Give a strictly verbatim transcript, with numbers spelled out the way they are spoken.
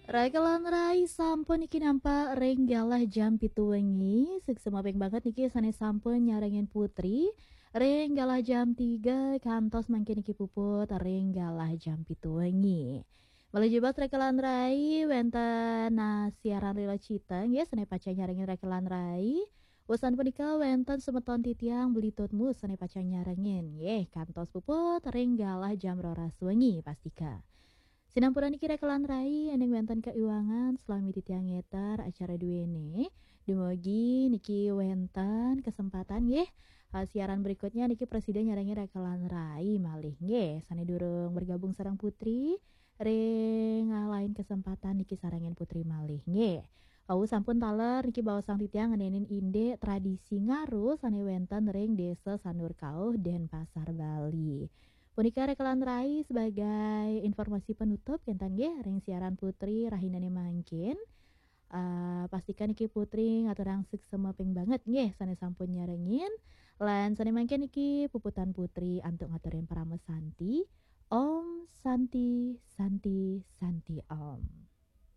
Rekelan rai sampun niki nampak ring galah jam pitu wengi. Suksma ping banget niki sane sampun nyarengin Putri ring galah jam tiga kantos mangkin niki puput ring galah jam pitu wengi. Malih jebos rekelan rai wenten, nah, siaran Rila Cita nggih sane pacang nyarengin rekelan rai. Usan punika wenten semeton titiang Beli Tutmu sane pacang nyarengin nggih kantos puput ring galah jam roras wengi pastika. Sinampura niki rekelan rai, ening wenten kaiwangan salami titiang ngeter acara duene. Dumugi niki wenten kesempatan nggih. Eh, siaran berikutnya niki prasida nyarengin rekelan rai malih nggih. Sane durung bergabung sareng Putri ring, eh, lain kesempatan niki sarengin Putri malih nggih. Wau sampun taler niki baosang titiang ngenenin indik tradisi ngaru sane wenten ring Desa Sanur Kauh, Denpasar, Bali. Punika rekelan rai sebagai informasi penutup kenten nggih ring siaran Putri rahinane mangkin. Eh, pastika niki Putri ngaturang suksma ping banget nggih sane sampun nyarengin. Lan sane mangkin niki puputan Putri antuk ngaturin parama santi. Om Santi, Santi, Santi Om.